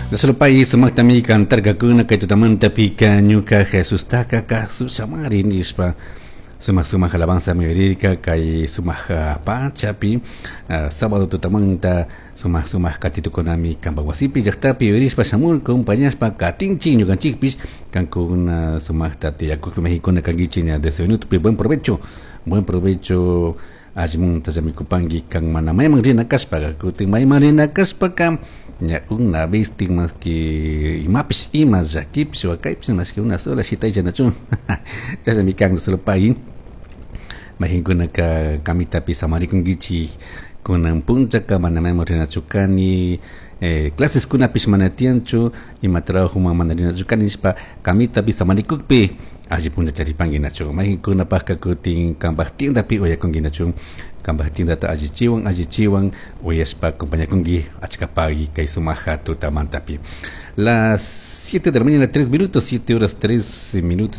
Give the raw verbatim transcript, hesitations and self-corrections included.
Solo país sumaktami cantarkakuna kay tutamantapika ñuka Jesustaka kasushamari nishpa sumak sumak alabanza uyarirka kay sumak pachapi uh, sábado tutamanta sumak sumak katitukunami kanpak wasipi llaktapi uyarishpa shamurka compañashpa katinchik ñukanchikpish kankuna sumakta tiyakukpi Mexicuna kankichik ña desde minutopi. Buen provecho, buen provecho, allimunta llamicupanki kan mana mayman rina kashpaka. Kutin mayman rina kashpaka ña una vez más que imapish, ima llakipish, wakaypish, más que una sola shitaylla nachun chashnami kan. Solo pagui mayqinkunaka kamitapi samarikunkichik kunan punchaka, mana mayman rinachu kani, eh, claseskunapish mana tiyanchu, ima trabajoman mana rinachu kani nishpa kamitapi samarikukpi alli puncha charipanki nachu. Mayqinkunapakka kutin kanpak tiendapi uyakunki nachu, kanpak tiendata allichiwan allichiwan uyashpa acompañakunki. Achka pagui kay sumaja tutamantapi. Las siete de la mañana tres minutos, siete horas tres minutos.